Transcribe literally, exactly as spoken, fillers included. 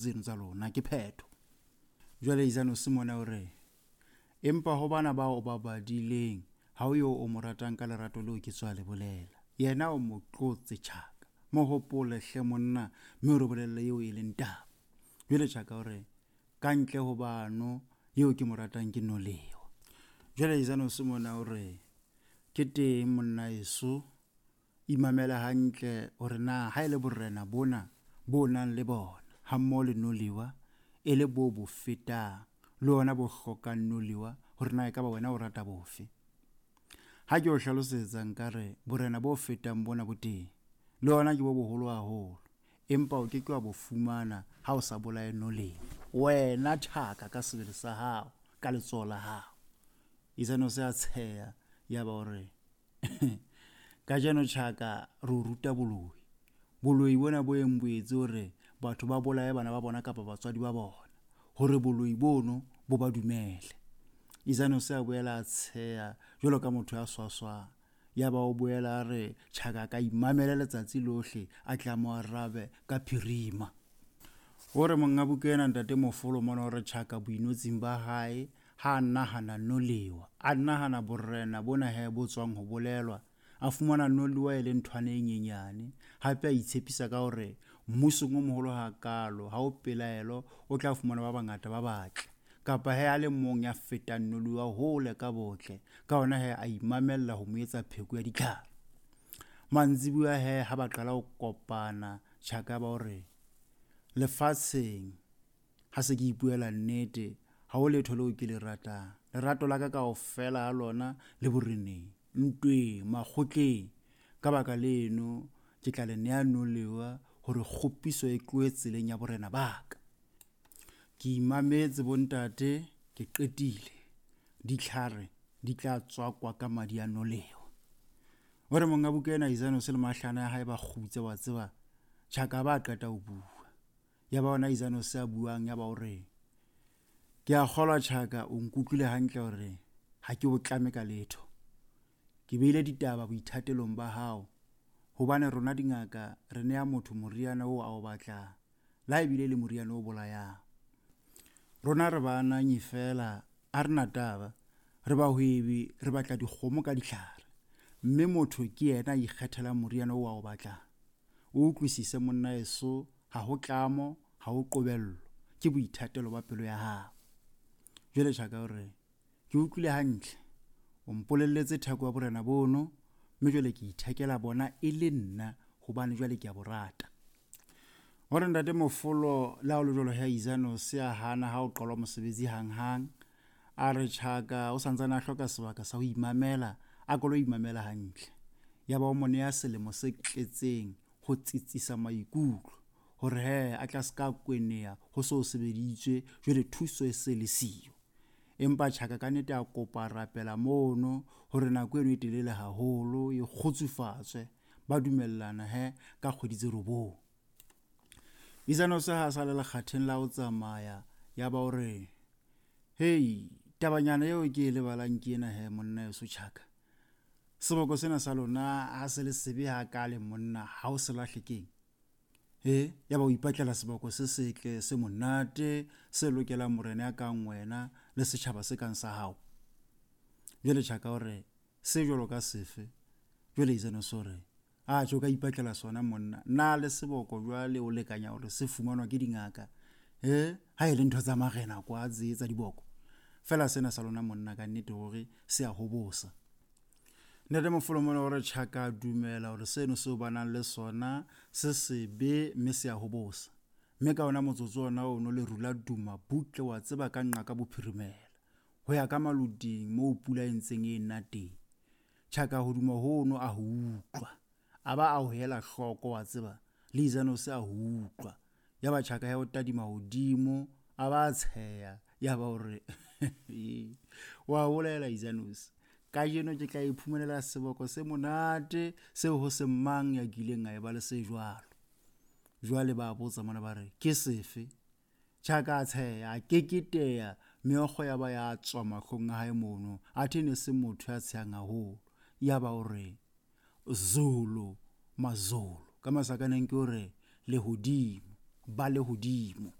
Tseno tsa lona ke phetho. Jwale Izano Simone o re, empa ho bana bao ba badileng, ha o yo o mo ratang ka lerato leo ke tswa le bolela. Yena o mo tlotse Tjhaka. Mo hopole hle monna, mme o re bolelle eo e leng taba. Jwale Tjhaka o re, ka ntle ho bano, eo ke mo ratang ke Nolewa. Jwale Izano Simone o re, ke teng monna eso, imamela hantle hore na ha e le borena bona bo nang le bona ha mmoho le Nolewa e le bo bo fetang le ona bo hlokang Nolewa, hore na ekaba wena o rata bofe. Ha ke o hlalosetsa nkare borena bo fetang bona bo teng, le ona ke bo boholo haholo, empa o ke ke wa bo fumana ha o sa bolaye Nolewa. Wena Tjhaka ka sebele sa hao, ka letsoho la hao. Izano se a tsheha ya ba hore kajeno Tjhaka re o ruta boloi. Boloi bona bo eng bo etse hore batho ba bolaye bana ba bona kapa batswadi ba bona, hore boloi bono bo ba dumele. Izano se a boela a tsheha jwalo ka motho ya swaswang. Ya ba o boela a re Tjhaka ka imamela letsatsi lohle, a tla mo arabe ka phirima. O re monga buka ena ntate Mofolo mona o re Tjhaka boinotsing ba hae ha a nahana Nolewa, a nahana borena bona he bo tswang ho bolelwa, a fumana Nolewa e le nthwane e nyenyane. Hape a itshepisa ka hore mmusong o moholo hakalo ha o pelaelo o tla fumana ba bangata ba batle, kapa he a le mong ya fetang Nolewa hole ka botle. Ka hona he a imamella ho mo etsa pheko ya ditlhare. Mantsibuya he ha ba qala ho kopana, Tjhaka ba hore lefatsheng ha se ke ipuela nnete, ha ho letho leo ke le ratang. Lerato la ka kaofela ha lona le boreneng, ntweng, makgotleng. Ka baka leno ke tla le nea Nolewa hore kgopiso e tlohe tseleng ya borena ba ka. Ke imametse bontate, ke qetile. Ditlhare di tla tswakwa ka madi a Nolewa. O re monga buka ena Izano se le mahlana ya hae ba kgutse wa tseba, Tjhaka ba qeta ho bua. Ya ba ona Izano se a buang, ya ba o re, ke a kgolwa Tjhaka o nkutlwile hantle hore ha ke o tlame ka letho. Ke beile ditaba boithatelong ba hao, hobane rona dingaka re nea motho moriana oo a o batlang, le ha ebile le moriana o bolayang. Rona re baananyi feela, ha re na taba, re bahwebi, re batla dikgomo ka ditlhare, mme motho ke yena a ikgethelang moriana oo a o batlang. O utlwisise monna eso, ha ho tlamo, ha ho qobello, ke boithatelo ba pelo ya hao. Jwale Tjhaka o re, ke utlwile hantle, o mpolelletse theko ya borena bono, mme jwale ke ithekela bona e le nna, hobane jwale ke a bo rata. Hore ntate Mofolo le ha o le jwalo he Izano se a hana ha o qalwa mosebetsi hanghang. A re Tjhaka o santsane a hloka sebaka sa ho imamela, a ko lo imamela hantle. Ya ba o mo neha selemo se tletseng ho tsitsisa maikutlo, hore he a tla ska kweneha ho so sebeditswe, jwale thuso e se le siyo. Empa Tjhaka ka nnete a kopa rapela mono hore nako eno e telele haholo e kgutsufatswe. Ba dumellana he ka kgwedi tse robong. Izano se ha sa le lekgatheng la ho tsamaya, ya ba o re, hei, tabanyana eo ke e lebalang ke ena he monna eso Tjhaka. Seboko sena sa lona ha se le sebe hakale monna, ha o se lahle keng? He, ya ba o ipatlela seboko se setle, se monate, se lokelang morena ya kang wena le setjhaba se kang sa hao. Jwale Tjhaka o re, se jwalo ka sefe? Jwale Izano se o re, a tjho ka ipatlela sona monna, na le seboko jwale o lekanya hore se fumanwa ke dingaka? He, ha e le ntho tsa marena kwa tse tsa diboko. Fela sena sa lona monna ka nnete hore se a hobosa. Ntate Mofolo mona o re Tjhaka a dumela hore seno seo ba nang le sona se sebe mme se a hobosa. Mme ka ona motsotso ona ono leru la duma butle wa tseba ka nqa ka bophirimela, ho ya ka maloding moo pula e ntseng e nna teng. Tjhaka hoduma hono a ho utlwa, a ba a ho hela hloko wa tseba, le Izano se a ho utlwa. Ya ba Tjhaka ya o tadima hodimo, a ba a tsheha, ya ba o re wa bolela Izanosi, kajeno ke tla iphumanela seboko se monate seo ho se mang ya kileng a eba le se jwalo. Jwale ba botsa mona ba re, ke sefe? Tjhaka a tsheha, a keketeha, meokgo ya ba ya tswa mahlong a hae mono, athe ne se motho ya tshehang haholo. Ya ba o re, Zulu, Mazulu, ka masakaneng ke hore lehodimo, ba lehodimo.